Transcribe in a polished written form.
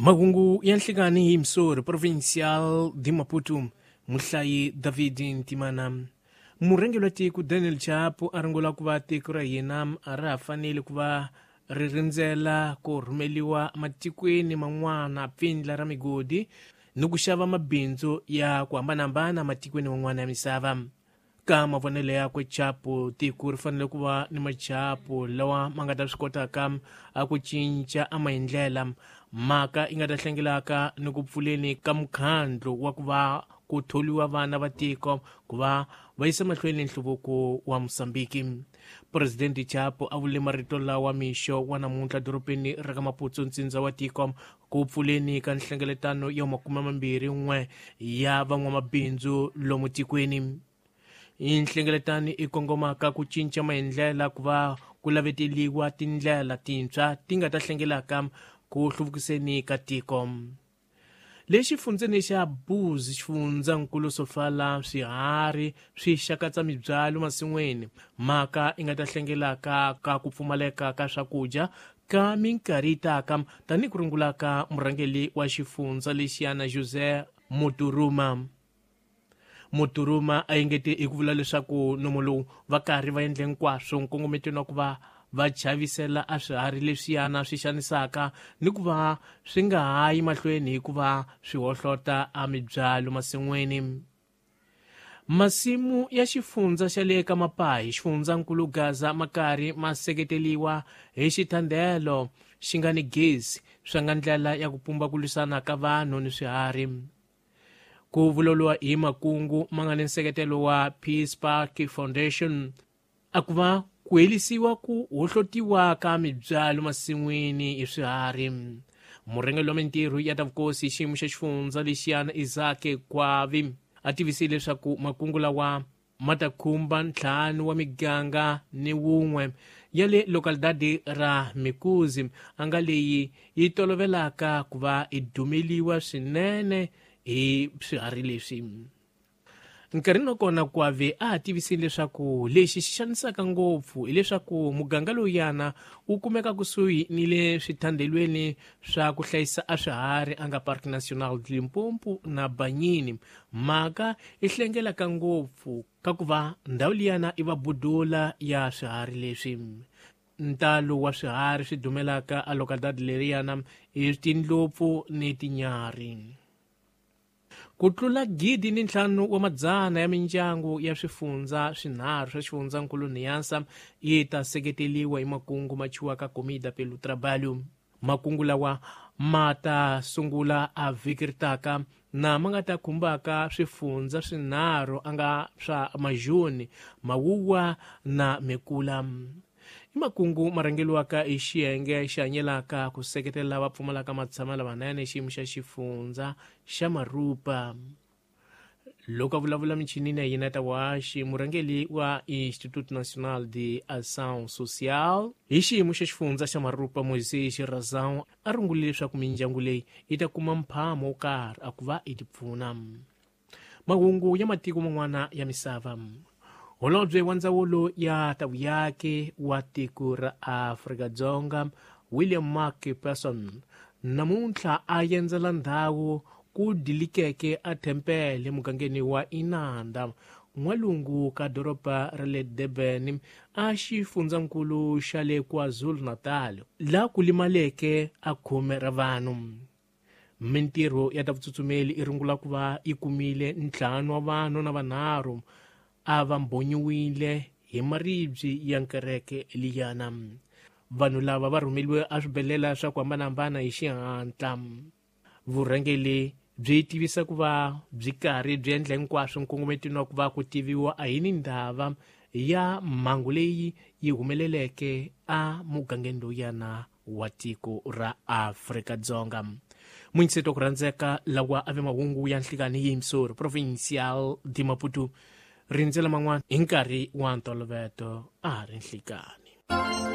Mahungu ya nhlikani hi Missouri Provincial de Maputo, muhlayi David Ntimana. Murhangeri wa tiko Daniel Chapo a ringula ku va tiko ra hina a ra ha fanele ku va ri rindzela ku rhumeliwa matikweni man'wana pfindla ra migodi ni ku xava mabindzu ya ku hambanahambana matikweni man'wana ya misava. Ka mavonelo yakwe Chapo, tiko ri fanele ku va ni machapo lawa ma nga ta swi kotaka a ku cinca a maendlela, mhaka yi nga ta hlengelaka ni ku pfuleni ka mukhandlu wa ku va ku tholiwa vana va tiko ku va va yisa mahlweni nhluvuko wa Mosambiki. Presidente Chapo a vule marito lawa mixo wa namuntlha dorobeni ra ka Maputo, ntsindza wa tiko, ku pfuleni ka nhlengeletano ya 21 ya van'wamabindzu lomu tikweni. Nhlengeletano i kongomaka ku cinca maendlela ku va ku laveteliwa tindlela tintshwa ti nga ta hlengelaka ku hluvukiseni ka tiko. Le xifundzeni xa Buz, xifundzankulu Sofala, swiharhi swi xakatsa mibyalo masin'wini, mhaka yi nga ta hlengelaka ka ku pfumaleka ka swakudya ka minkarhi yi taka, tanihi ku rungulaka murhangeri wa xifundza lexiyana José Muturuma. Muturuma a engete hi ku vula leswaku nomo lowu va karhi va endle hinkwaswo nkongometweni wa ku va va chavisela a swiharhi leswiyana swi xanisaka ni ku va swi nga ha yi mahlweni hikuva swi hohlota a mibyalo masin'wini. Masimu ya xifundza xa le ka Mapahi, xifundzankulu Gaza, ma karhi ma seketeliwa hi xithandelo xi nga ni gezi, swa nga ndlela ya ku pumba ku lwisana ka vanhu ni swiharhi. Ku vulavuriwa hi makungu ma nga ni nseketelo wa Peace Park Foundation a ku va ku helisiwa ku hohlotiwa ka mibyalo masin'wini hi swiharhi. Murhangeri wa mintirho ya ta vukosi xiyimo xa xifundza lexiyana Isaac Kwavi a tivisile leswaku makungu lawa ma ta khumba 5 wa miganga ni wun'we ya le localidade ra Mikuzi, a nga leyi yi tolovelaka ku va yi dumeliwa swinene hi swiharhi leswi. Nkarhini wa kona Kwavi a ha tivisile leswaku lexi xi xanisaka ngopfu hileswaku muganga lowuyana wu kumeka kusuhi ni le swithandelweni swa ku hlayisa a swiharhi a nga Parc National de Limpopo na Banyini. Mhaka yi hlengelaka ngopfu ka ku va ndhawu liyana i va budula ya swiharhi leswi. Ntalo wa swiharhi swi dumelaka a localidade leriyana i tindlopfu ni tinyarhi. Ku tlula 1,500 ya mindyangu ya swifundza swinharhu swa xifundzankulu Niassa yi ta seketeliwa hi makungu ma chiwaka Comida pelo Trabalho. Makungu lawa ma ta sungula a vhiki ri taka na ma nga ta khumbaka swifundza swinharhu a nga swa Majuni, Mawuwa na Mekula. I makungu ma rhangeriwaka hi xiyenge xi hanyelaka ku seketela lava pfumalaka matshama lamanene xiyimo xa xifundza xa Marupa. Loko a vulavula michinini ya yena ta waxi, murhangeri wa Instituto Nacional de Ação Social hi xiyimo xa xifundza xa Marupa, Moisés Razão, a rungulile leswaku mindyangu leyi yi ta kuma mphamo wo karhi a ku va yi tipfuna. Mahungu ya matiko man'wana ya misava. Holobye wa ndzawulo ya ta vuyaki wa tiko ra Afrika-Dzonga William Mark Persson namuntlha a endzela ndhawu ku dilikeke a tempele mugangeni wa Inanda, n'walungu ka doroba ra le Durban, a xifundzankulu xa le KwaZulu-Natal, laha ku limaleke a khume ra vanhu. Mintirho ya ta vutsutsumeli i rungula ku va yi kumile 5 wa vanhu na vanharhu a va mbhonyiwile hi maribye ya nkereke liyana. Vanhu lava va rhumeliwe a swibedhlele swa ku hambanahambana hi xihatla. Vurhangeri byi tivisa ku va byi karhi byi endla hinkwaswo nkongometweni wa ku va ku tiviwa a hi ni ndava ya mhangu leyi yi humeleleke a mugangeni lowuyana wa tiko ra Afrika-Dzonga. Muinseto ku rhandzeka lawa a ve mahungu ya nhlikani hi Missouri Provincial de Maputo. Rindzela man'wana hi nkarhi wa ntolovelo a ha ri nhlikani.